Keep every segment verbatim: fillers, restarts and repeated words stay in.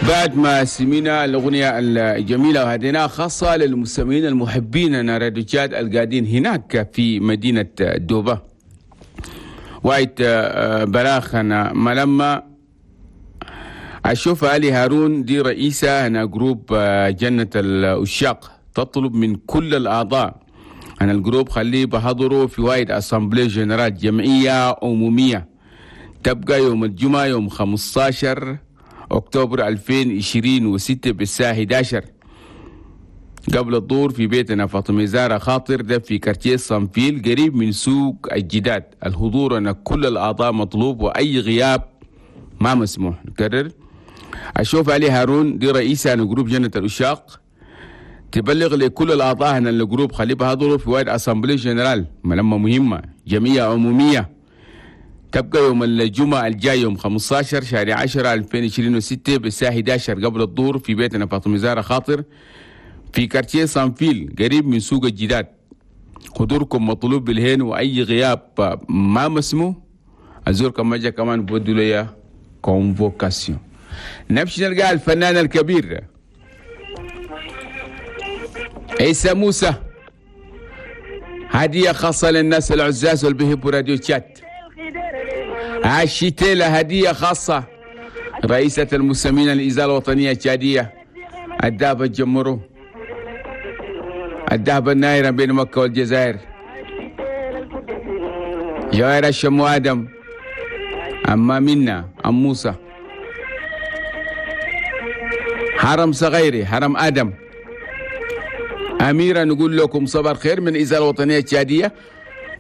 بعد ما سمينا الأغنية الجميلة وهديناها خاصة للمستمعين المحبين راديو تشاد القاعدين هناك في مدينة دوبا. وايت براخنا ملما أشوف علي هارون دي رئيسة هنا groupe جنة العشاق، تطلب من كل الأعضاء أن ال groupe خليه بحضروا في وايد assemblée générale جمعية عمومية تبقى يوم الجمعة يوم خمستاشر أكتوبر ألفين وعشرين وستة بالساعة إحدى عشر قبل الظهر في بيتنا فاطمة زارة خاطر، ده في quartier صنفيل قريب من سوق الجداد. الحضور أن كل الأعضاء مطلوب وأي غياب ما مسموح. نكرر، أشوف علي هارون دي رئيسة أنا groupe جنة العشاق تبلغ لكل الأعضاء أن ال groupe خليه بحضروا في وايد assemblée générale ملمة مهمة جمعية عمومية تبقى يوم الجمعة الجاي يوم خمستاشر شهر عشرة ألفين وعشرين وستة بالساعة إحدى عشر قبل الظهر في بيتنا فاطمة زارة خاطر في quartier صنفيل قريب من سوق الجداد. حضوركم مطلوب بالهين وأي غياب ما مسموح. الزول كان ما جا كمان بودوا لي convocation. نمشي نلقى الفنان الكبير عيسى موسى، هدية خاصة للناس العزاز واللي بيحبوا راديو تشاد. عشيتيلا هدية خاصة، رئيسة المستمعين الإذاعة الوطنية التشادية، الدهب الجمرو، الدهب النايرة بين مكة والجزائر، جوائر الشمو آدم، أما منا أم موسى، حرم صغيري حرم آدم أميرة. نقول لكم صباح الخير من الإذاعة الوطنية التشادية،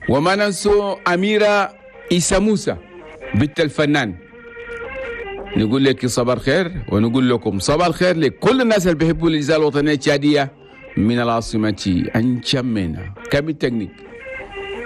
وما ننسوا أميرة إيسا موسى بنت الفنان. نقول لك صباح الخير ونقول لكم صباح الخير لكل الناس اللي بيحبوا الإذاعة الوطنية التشادية من العاصمة أنجمينا. كم التكنيك.